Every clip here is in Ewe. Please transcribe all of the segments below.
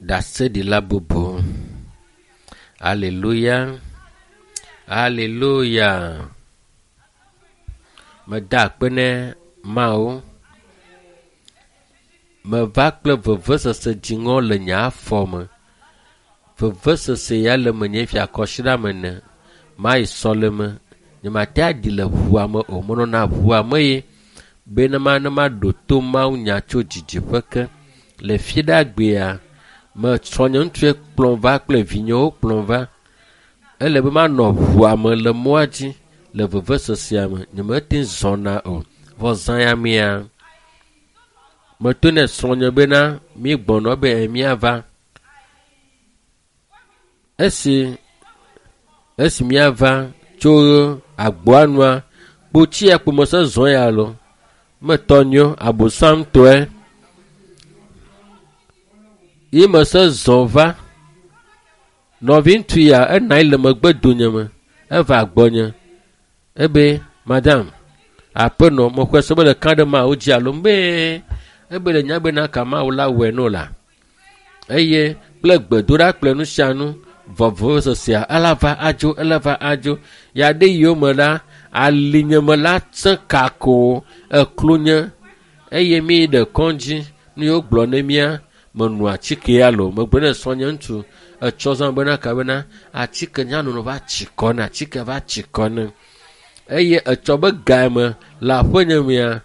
Ɖaseɖila bubu. Aleluya. Aleluya. Meda akpe ne Mawu. Meva kple vevesese dziŋɔ le nye afɔ me. Vevesese ya le menye fia kɔsiɖa me ne. Mayi sɔleme. Nyemate aɖi le ʋua me o. Menɔna ʋua me ye bena ma ne maɖo to Mawu nya tso didiƒe ke. Le fiɖagbea, me srɔ̃nye ŋutsue kplɔm va kple vinyewo kplɔm va. Ele be manɔ ʋua me le mɔa dzi le vevesesea me. Nyemete zɔna o. Vɔ zã ya mea, meto ne srɔ̃nye bena mi gbɔnɔ be míava. Esi esi míava tso agboa nua, kpotsi ya kpo mese zɔ ya lo. Metɔ nyo abosamtɔe. Ye mese zɔ va. Nɔvi ŋutsu ya ena anyi le megbe donyeme. Eva gbɔnye. Ebe madam aƒenɔ mexɔe se be le ka ɖe Mawu dzi alo be ebe le nya bena ka Mawu la wɔe no la. Eye kple gbedoɖa kple nu sia nu vɔvɔsesea ela va adzo ela va adzo. Ya ɖe yome la alinyeme la sẽ kako eklo nye eye mi yi ɖe kɔdzi nu yiwo gblɔ ne mía menu atike ya lo megblɔ ne srɔ̃nye ŋutsu etsɔ zã bena ka bena atike nyanono va tsi kɔ ne atike va tsi kɔ ne eye etsɔ be game le aƒenye mea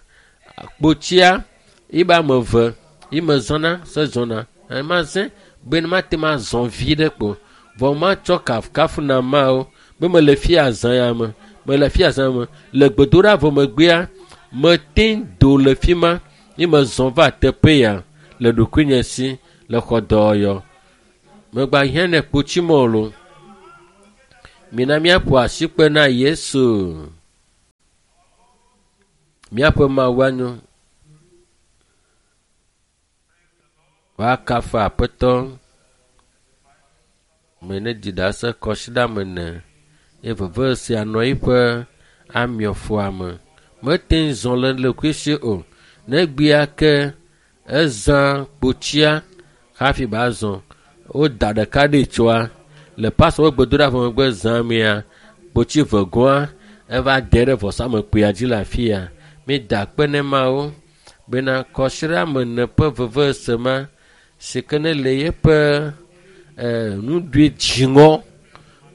kpotsia yibe ame eve yi me zɔna se zɔna ema zẽ be ne mate ma zɔ vi ɖe kpo vɔ matsɔ kafukafu na Mawu be mele fia zã ya me mele fia zã me le gbedoɖa vɔ megbea mete do le fi ma yi mezɔ va teƒe ya le ɖokuinye si le xɔ dɔyɔ megba hiã ne kpotsimɔ lo mina míaƒo asikpe na Yesu míaƒe Mawu anyo woakafu aƒetɔ me ne dzi ɖase kɔsiɖa me ne ye veve sia nɔ eƒe amiɔfoa me mete ŋu zɔ le ɖokui o negbea ke ezã kpotsia hafi ba zɔ woda ɖeka ɖe tsoa le pastor ƒe gbedoɖa vɔ megbe zã mea kpotsi vegoa eva de ɖe vɔsamekpuia dzi le afi ya mi da akpe ne Mawu bena kɔsiɖa me ne ƒe vevesese ma si ke ne le yeƒe nuɖui dziŋɔ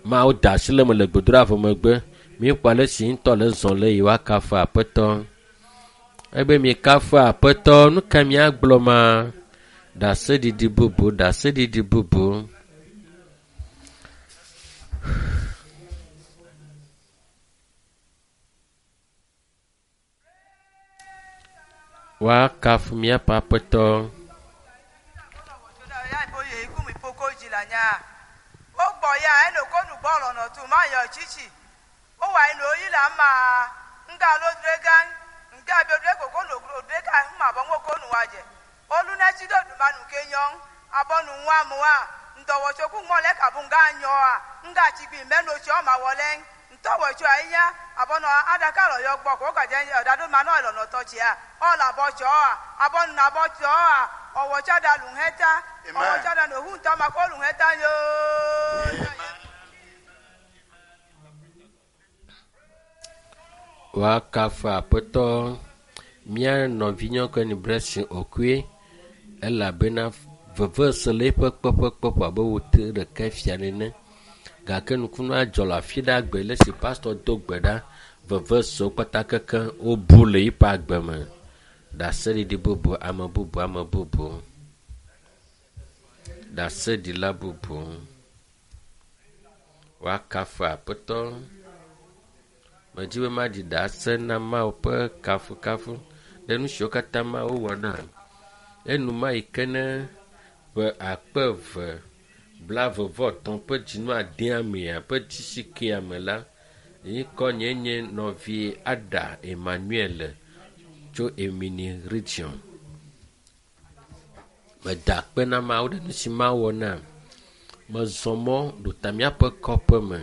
Mawu da asi le eme le gbedoɖa vɔ megbe míekpɔ ale si ŋutɔ le zɔ le yi woakafu aƒetɔ ebe mikafu aƒetɔ nu ka míagblɔ ma ɖaseɖiɖi bubu ɖaseɖiɖi bubu. Woakafu míaƒe aƒetɔ. Wogbɔ ya eno ko nu gbɔ lɔnɔ tu ma yɔ tsitsi wowa eno yi la ma nga lo dre gan nga bi dre koko no dre ka ma bɔ ŋo ko nu wa dze olu ne tsi do duma nu ke nyɔ abɔ nu ŋua mua ŋdɔwɔtso ku ŋmɔ lɛ kabu nga nyɔa nga tsigbi mɛno tsi ɔma wɔ lɛ ŋtɔwɔtso ayinya abɔnɔ adaka lɔ yɔ gbɔ ko kadze ɔdado ma nɔ lɔnɔtɔ tsia ɔlɔ abɔ tsɔa abɔnu nabɔ tsɔa ɔwɔtsa da lu hɛta ɔwɔtsa da nohu ŋutɔ ma ko lu hɛta yoo. Woakafu aƒetɔ mía nɔvinyɔnu ni Blessing Okue elabena vevesese le eƒe kpeƒe abe wote ɖeka fia nene gake nukunu adzɔ le afi ɖe agbe le si pastor do gbe ɖa vevesesewo kpata kekeŋ wobu le eƒe agbe me. Ɖaseɖiɖi bubu ame bubu ame bubu ɖaseɖila bubu woakafu aƒetɔ. Medzi be maɖi ɖase na Mawu ƒe kafukafu ɖe nu siwo katã Mawu wɔ nam. Enuma yi ke ne ƒe akpe eve blaeve-vɔ-etɔ̃ ƒe dzinu adea mea ƒe dzisikea me la, ŋkɔ nye nye nɔvi Ada Emmanuel tso Emini region. Meda akpe na Mawu ɖe nu si Mawu wɔ nam. Mezɔ mɔ ɖo ta míaƒe kɔƒe me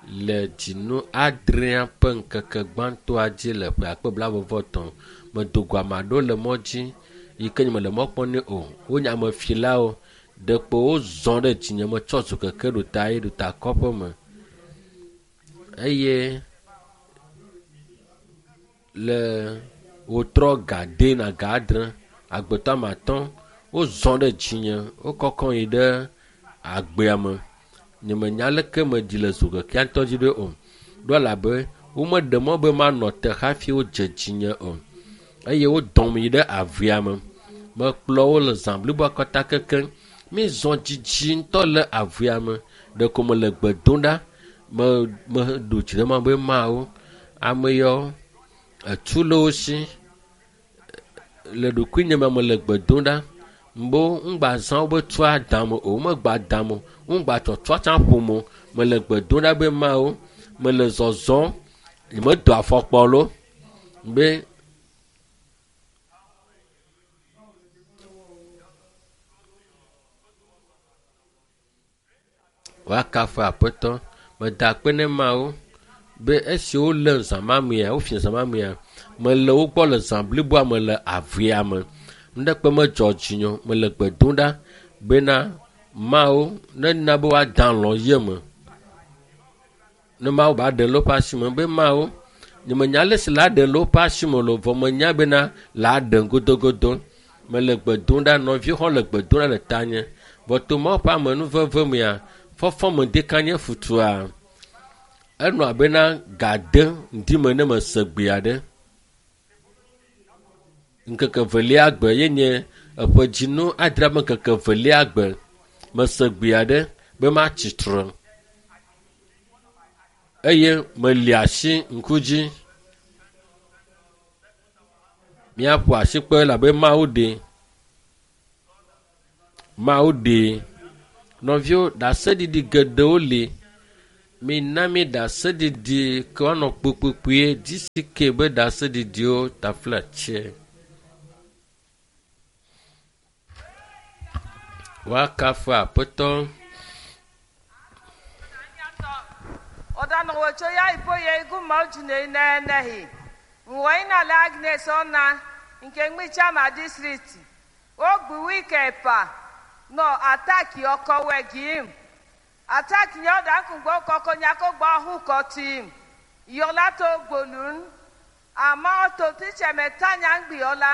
le dzinu adrea ƒe ŋkeke gbãtɔa dzi le ƒe akpe blaeve-vɔ-etɔ̃. Medo go ame aɖewo le mɔ dzi yi ke nye mele mɔ kpɔm nɛ o. Wonye amefilawo. Ɖeko wozɔ ɖe dzinye metsɔ zokeke ɖo ta yi ɖo ta kɔƒe me eye le wotrɔ ga de na ga adre agbetɔ ame atɔ̃ wozɔ ɖe dzinye wokɔkɔ yi ɖe agbea me. Nyemenya aleke meɖi le zokekea ŋutɔ dzi ɖo o. Ɖo elabe womeɖe mɔ be manɔ te hafi wodze dzinye o eye wodɔm yi ɖe avea me. Mekplɔ wo le zã bliboa katã kekeŋ. Mízɔ dzidzi ŋutɔ le avea me. Ɖeko mele gbe dom ɖa. Me meɖo dzi ɖe Mawu be Mawu ame yawo etu le wo si le ɖokuinye me mele gbe dom ɖa. Mbo ŋgba zã wobe tua dam o womegba dam o ŋgba tsɔtsɔ tsã ƒom o. Mele gbe dom ɖa be Mawu mele zɔzɔm nyemedo afɔkpa lo be woakafu aƒetɔ. Meda akpe ne Mawu be esi wolém zã ma mea, wofia zã ma mea, mele wo gbɔ le zã bliboa me le avea me. Nuɖekpe medzɔ dzinye o. Mele gbe dom ɖa bena Mawu nena be woada alɔ̃ ye me. Ne Mawu ba ɖe le woƒe asi me be Mawu nyemenya ale si la ɖe le woƒe asi me o vɔ menya bena la ɖem godogodo. Mele gbe dom ɖa nɔviwo hã le gbe dom ɖa le tanye. Vɔ to Mawu ƒe amenuveve mea, fɔfɔ me ɖeka nye futua. Enɔ abena ga de ŋdi me ne mese gbe aɖe. Ŋkeke velia gbe ye nye eƒe dzinu adre be ŋkeke velia gbe mese gbe aɖe be matsi tre eye meli asi ŋku dzi. Míaƒo asikpe elabe Mawu ɖee. Mawu ɖee. Nɔviwo, ɖaseɖiɖi geɖewo li. Mina mi ɖaseɖiɖi ke woanɔ kpuikpuikpui DCK be ɖaseɖiɖiwo taflatse. Woakafu aƒetɔ. Ọ̀dànàwòtso ya iboye iguma ojune nenehi nwoina la Agnes ọna nke mgbichama district ogbu wike pa nọ ataki ọkọwe gim ataki nye ọda nkugbo kọkọ nyakogbo ọhụ kọtim yọlato gbolun ama ọtọ tichemetanya mgbiola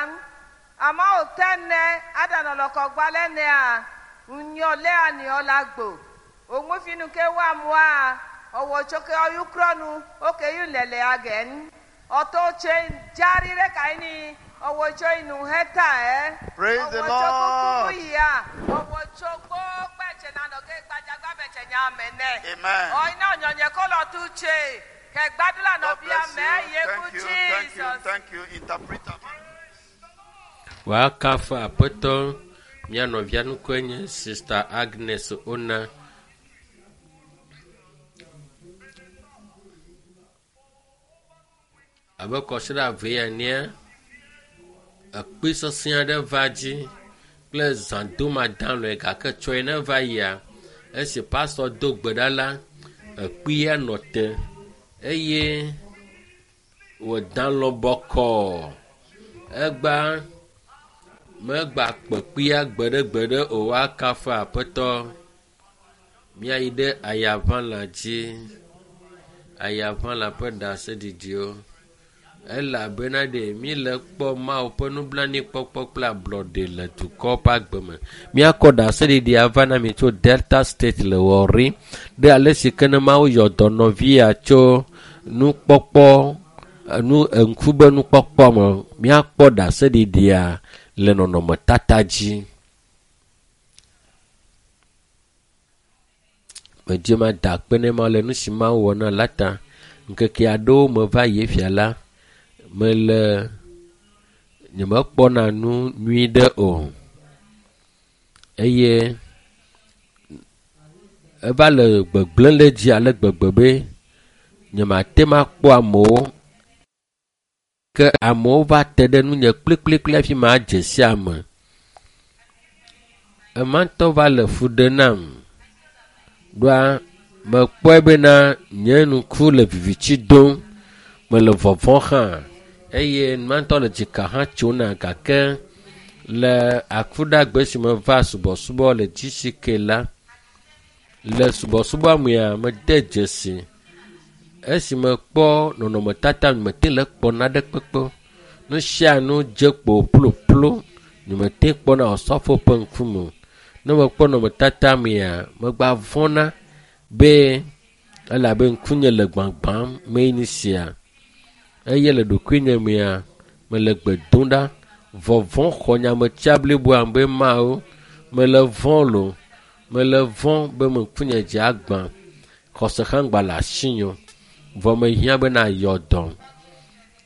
ama otene adanọlọkọ gbalẹne a nyọlẹ aniola gbo ònwefinu ke wa mua ọwọ tsoke ọyukrọnu oke yu lẹlẹ agẹn ọtọ tse dzari ɖe kayi ọwọ tso inu hɛta ɛ Praise the ọwọ tso kuku Lord. yia ọwọ tso gbogbo nanɔ ke gbadzagba bɛtsɛ nya mɛ nɛ Amen. ɔyina ɔnyɔnyɛ kɔlɔ tu tse kɛ gbadula God nɔvia bless mɛ you. yeku Thank you. Thank you. Jesus. Thank you, interpreter. Woakafu aƒetɔ. Mía nɔvia ŋkɔe nye Sista Agnes Ona. Abe kɔsiɖa eve enea, ekpe sesẽ aɖe va dzi kple zãdomadalɔe gake tsɔe ne va yia, esi pastɔ do gbe ɖa la, ekpea nɔ te eye wòda alɔ bɔkɔɔ. Egba megba kpe kpea gbeɖegbeɖe o woakafu aƒetɔ. Míayi ɖe ayaʋãla dzi. Ayaʋãla ƒe ɖaseɖiɖiwo. Elabena ɖe míele kpɔ Mawu ƒe nublanuikpɔkpɔ kple ablɔɖe le dukɔ ƒe agbe me. Míakɔ ɖaseɖiɖia va na mi tso Delta State le Warri ɖe ale si ke ne Mawu yɔ dɔ nɔvia tso nukpɔkpɔ nu ŋku be nukpɔkpɔ me. Míakpɔ ɖaseɖiɖia le nɔnɔmetata dzi. Medze ma da akpe ne Mawu le nu si Mawu wɔ na la ta. Ŋkeke aɖewo me va yi fia la, mele nyemekpɔna nu nyui ɖe o eye eva le gbegblẽ le dzi ale gbegbe be nyemate ŋu akpɔ amewo ke amewo va te ɖe nunye kplikplikpli hafi madze si ame. Ema ŋutɔ va le fu ɖe nam. Ɖoa mekpɔe bena nye ŋku le viviti dom, mele vɔvɔ̃ hã eye nua ŋutɔ le dzika hã tsom na gake Le akuɖagbe si meva subɔsubɔ le GCK la, le subɔsubɔa mea mede dzesi esi mekpɔ nɔnɔmetata nyemete le kpɔ naɖe kpekpe o. Nu sia nu dze kpo ploplo nyemete kpɔna osɔfo ƒe ŋkume o. Ne mekpɔ nɔnɔmetata mea megba vɔ̃na be elabe ŋkunye le gbagbam mee nu sia eye le ɖokuinye mea mele gbe dom ɖa vɔvɔ̃ xɔ nyametsia bliboa be mawo mele vɔ̃ lo mele vɔ̃ be me ŋkunye dze agbã xɔse hã gba le asinye o. Vɔ mehiã bena yɔ dɔ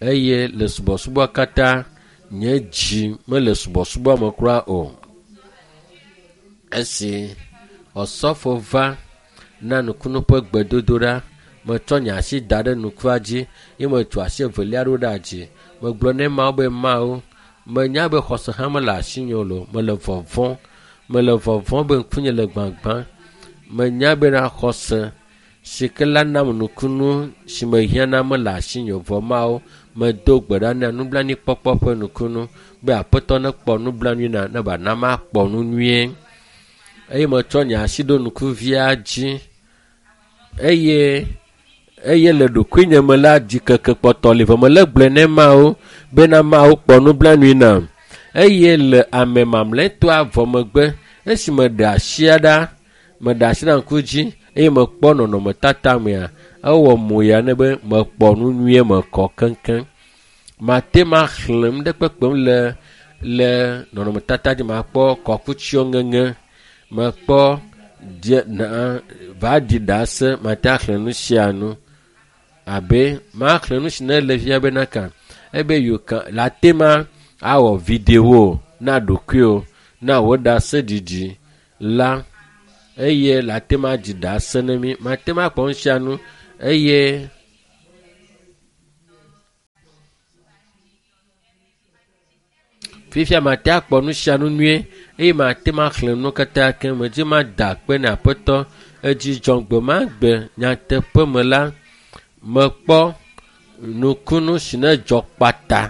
eye le subɔsubɔ katã nye dzi mele subɔsubɔa me kura o. Esi osɔfo va na nukunu ƒe gbedodoɖa, metsɔ nye asi da ɖe nukua dzi ye metu asi evelia ɖo ɖe dzi. Megblɔ nɛ Mawu be Mawu, menya be xɔse hã mele asinye o lo, mele vɔvɔ̃, mele vɔvɔ̃ be ŋkunye le gbagbã. Menya bena xɔse si ke la nam nukunu si mehiã na mele asinye o. Vɔ Mawu, medo gbe ɖa na nublanuikpɔkpɔ ƒe nukunu be Aƒetɔ nekpɔ nublanui na ne wòana makpɔ nu nyuie. Eye metsɔ nye asi ɖo nukuvia dzi eye eye le ɖokuinye me la dzikeke kpɔtɔ li vɔ mele gblɔe ne Mawu bena Mawu kpɔ nublanui nam. Eye le ame mamlɛtɔa vɔ megbe esi meɖe asia ɖa meɖe asi ɖe ŋku dzi eye mekpɔ nɔnɔmetata mea ewɔ moya ne be mekpɔ nu nyuie mekɔ keŋkeŋ. Mate maxlẽ nu ɖe kpekpem le le nɔnɔmetata dzi makpɔ kɔkutsiwo ŋeŋe mekpɔ dze na va ɖi ɖase mate axlẽ nu sia nu abe maxlẽ nu si ne le fia bena ka ebe you can la te ma awɔ video na ɖokuiwò na wò ɖaseɖiɖi la eye la te ma dzi ɖase ne mi mate ma kpɔ nu sia nu eye fifia mate akpɔ nu sia nu nyuie eye mate ma xlẽ nu katã ke medzi mada akpe na Aƒetɔ edzi dzɔm gbe ma gbe nyateƒe me la mekpɔ nukunu si ne dzɔ kpata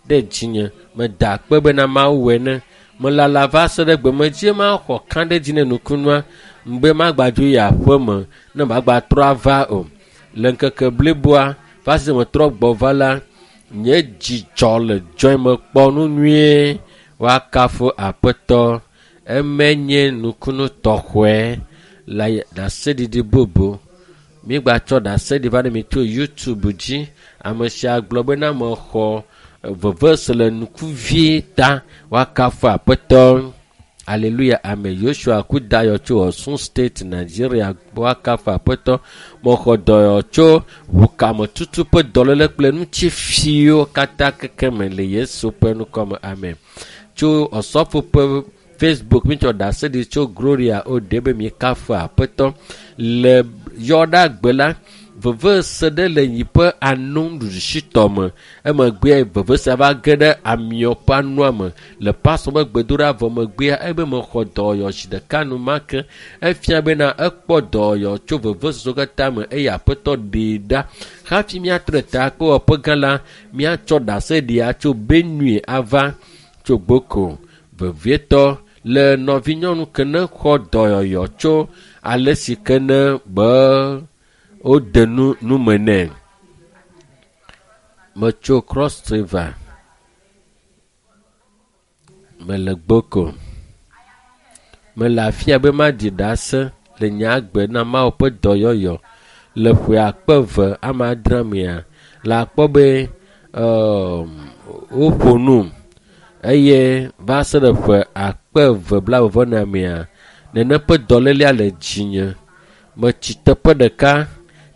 ɖe dzinye meda akpe bena Mawu wɔe ne melala va se ɖe gbe medzi maxɔ kã ɖe dzi ne nukunua ŋgbe magbadzo yi aƒe me ne magbatrɔ ava o. Le ŋkeke bliboa va se metrɔ gbɔ va la nye dzidzɔ le dzɔe mekpɔ nu nyuie woakafu Aƒetɔ eme nye nukunu tɔxɔe le ɖaseɖiɖi bubu. Mígbatsɔ ɖaseɖi va ne mi tso YouTube dzi. Ame sia gblɔ bena mexɔ vevese le nukuvie ta woakafu Aƒetɔ. Aleluya ame Yosua Kudayɔ tso Osun State, Nigeria woakafu Aƒetɔ. Mexɔ dɔyɔ tso ʋukametutu ƒe dɔléle kple ŋutifiwo katã keke me le Yesu ƒe ŋkɔme. Amen. Tso Osɔfo ƒe Facebook mitsɔ ɖaseɖi tso Gloria Ode be mikafu Aƒetɔ. Le yɔɖagbe la, vevese ɖe le yi ƒe ano nuɖusitɔ me. Emegbea vevesea va ge ɖe amiɔ ƒe anoa me. Le pastor ƒe gbedoɖa vɔ megbea ebe mexɔ dɔyɔ zi ɖeka enumake. Efia bena ekpɔ dɔyɔ tso vevesesewo katã me eye Aƒetɔ ɖee ɖa. Hafi míatrɔ ta kple wɔƒe gã la, míatsɔ ɖaseɖia tso Benue ava tso Gboko. Vevietɔ le nɔvinyɔnu ke ne xɔ dɔyɔyɔ tso ale si ke ne be wode nu nume nɛ. Metso Cross River. Mele Gboko. Mele afia be maɖi ɖase le nye agbe na Mawu ƒe dɔyɔyɔ le ƒe akpe eve ame adre mea le akpɔ be woƒo num eye va se ɖe ƒe akpe eve blaeve vɔ ene mea nene ƒe dɔlélea le dzinye. Metsi teƒe ɖeka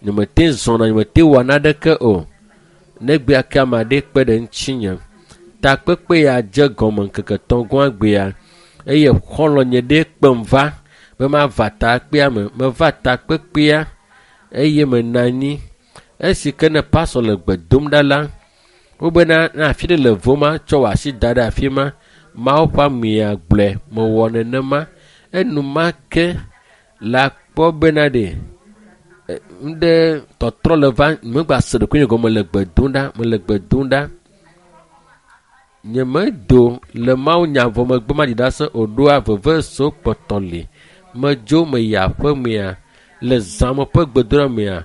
nyemete zɔna nyemete wɔna naneke o. Negbea ke ame aɖe kpe ɖe ŋutinye. Takpekpe ya dze gɔme ŋkeke tɔ̃ gbea eye xɔlɔ̃nye ɖe kpem va be mava takpea me. Meva takpekpea eye menɔ anyi. Esi ke ne pastor le gbe dom ɖa la, wobena ne afi ɖe le voma tsɔ wò asi da ɖe afi ma. Mawu ƒe amea gblɔe mewɔ nenema. Enumake la kpɔ bena ɖe ŋɖe tɔtrɔ le va megba se ɖokuinye gɔme le gbe dom ɖa mele gbe dom ɖa. Nyemedo le mawunya vɔ megbe maɖi ɖase o ɖoa veve so kpɔtɔ li. Medzo meyi aƒemea le zãme ƒe gbedoɖa mea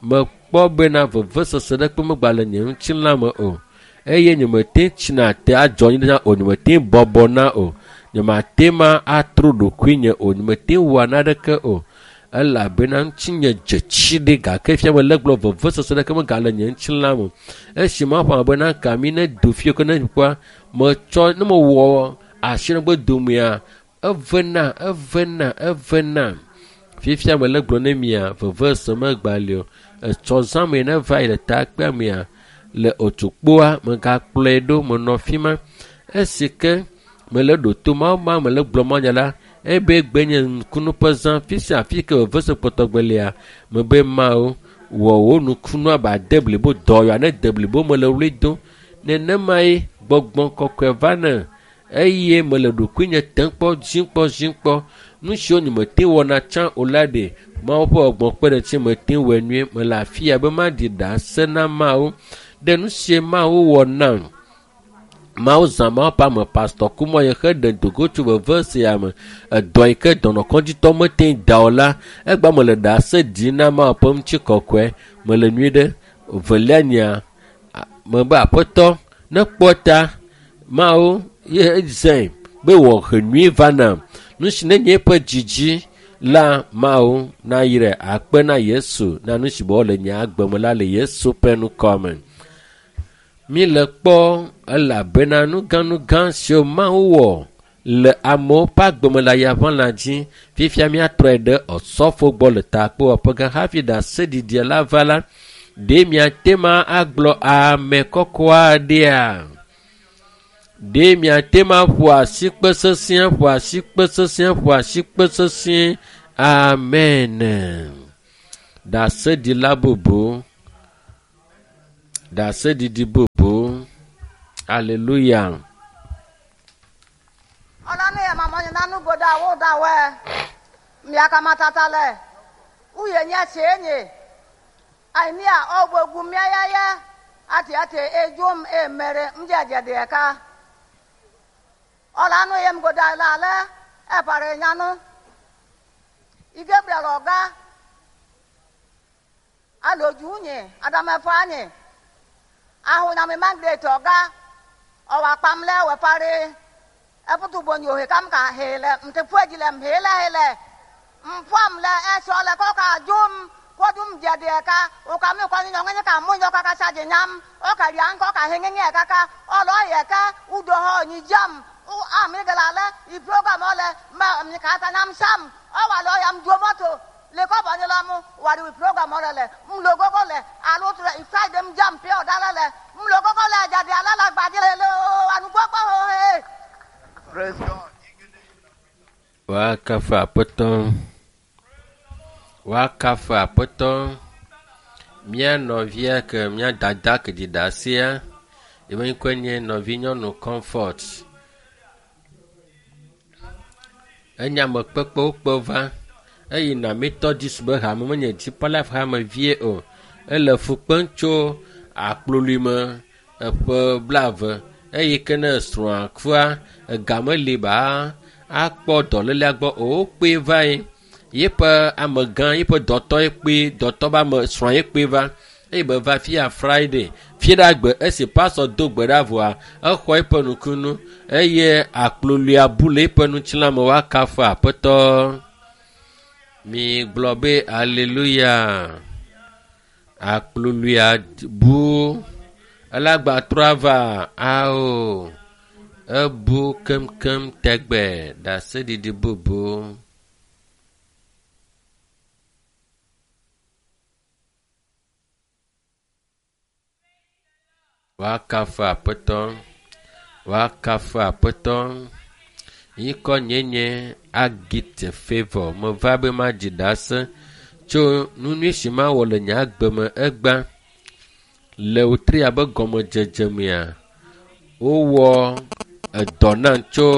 mekpɔ bena vevesese ɖeke megba le nye ŋutilã me o eye nyemete tsina te adzɔ anyi ɖe o nyemete bɔbɔna o nyemate ma atro ɖokuinye o nyemete wɔa naneke o elabena ŋutinye dze tsi ɖe gake fia mele gblɔ vevesese ɖeke megale nye ŋutilã me esi maƒo ame bena kami ne do fie ke ne kpɔa metsɔ ne mewɔ asi ɖe domea evena evena evena fifia mele gblɔ ne mia vevese megbali o etsɔ zãme ne va yi le takpea mea le otukpoa megakplɔe ɖo menɔ fi ma esi ke mele ɖo to mawu ma mele gblɔ manya la ebe gbe nye nukunu ƒe zã fi sia fi ke vevese kpɔtɔgbelia mebe mawu wɔ wò nukunu abe ade blibo dɔyɔa ne de blibo mele wli dom nenemae gbɔgbɔ kɔkɔe va ne eye mele ɖokuinye tem kpɔ dzim kpɔ dzim kpɔ nu siwo nyemete wɔna tsã o la ɖe mawu ƒe gbɔgbɔ kpe ɖe ŋuti mete wɔe nyuie mele afi ya be maɖi ɖase na mawu ɖe nu sie mawu wɔ nam mawu zã mawu ƒe ame pastɔ kumɔ yi xe ɖe dogo tso veve sia me edɔ yi ke dɔnɔkɔdzitɔ mete da o la egba mele ɖase ɖim na mawu ƒe ŋutikɔkɔe mele nyui ɖe velia nyea mebe aƒetɔ ne kpɔ ta mawu ye zãe be wɔ he nyui va nam nu si ne nye eƒe dzidzi la mawu nayrae akpe na yesu na nu si be le nye agbe me la le yesu ƒe ŋkɔ me mi le kpɔ elabena nugãnugã siwo mawu wɔ le amewo ƒe agbeme le ayaʋã dzi fifia míatrɔe ɖe ɔsɔfo gbɔ le takpewɔƒe gã hafi ɖaseɖiɖia la va la ɖe miate ma agblɔ ame kɔkɔ aɖea ɖe miate ma ƒo asikpe sesĩe ƒo asikpe sesĩe ƒo asikpe sesĩe amen ɖaseɖila bubu ɖaseɖiɖi bubu aleluya. Ọlọ́ni ẹ̀ màmá yẹn nánú gbọdọ̀ àwọ̀ dàwọ̀ ẹ̀ mìàkàmàtàtà lẹ̀ wúyẹ̀ nyẹ́ ṣe é nyè àìníà ọ̀gbọ̀gùn mìáyáyá àti àti ejom emere mjẹjẹdẹ ẹ̀ka ọ̀lànà yẹn gbọdọ̀ àlẹ́ ẹ̀ pàrẹ̀ nyánú igabriel ọ̀gá alòjú nyè adamẹ́fọ́ nyè ahùnyàmí magret ọ̀gá ọ̀wà pamlẹ̀ wẹ̀fárẹ́ efutu bonyo he kam ka hele mte fueji le mhele hele mfam le esho le ko ka jum ko dum jede ka o ka mi ko ni nyonge ka mu nyo ka ka saje nyam o ka rian ko ka henge ka ka o lo ye ka udo ho ni jam o a mi gala le i program ole ma mi ka ta nyam sam o wa lo yam do moto le ko bo ni lo mu wa ri program ole le m lo gogo le alo tu le friday m jam pe o dala le m lo gogo le jade ala la gbaje le anu gbogbo ho he. Praise God. Woakafu aƒetɔ. Woakafu aƒetɔ. Mía nɔvia ke mía dada ke ɖi ɖasea, eƒe ŋkɔe nye nɔvinyɔnu Comfort. Enye ame kpekpewo kpe va eyina Methodist be hame menye Deeper Life hame vie o. Ele fu kpem tso akplolui me eƒe blaeve eyi ke ne srɔ̃a kua ega meli ba akpɔ dɔlélea gbɔ o wokpee va yi yeƒe amegã yeƒe dɔtɔ ye kpee dɔtɔ be ame srɔ̃ ye kpee va eye be va fia friday fiɖagbe esi pastor do gbe ɖa vɔa exɔ eƒe nukunu eye akploluia bu le eƒe ŋutilã me woakafu aƒetɔ mi gblɔ be aleluya akploluia bu elagba trɔ ava ao ebu keŋkeŋ tɛgbɛ ɖaseɖiɖi bubu. Woakafu aƒetɔ, woakafu aƒetɔ. Ŋkɔ nye nye Agite Favour. Meva be madzi ɖase tso nu nyui si mawɔ le nye agbe me egbea. Le wòtri abe gɔmedzedze mea, wowɔ edɔ nam tso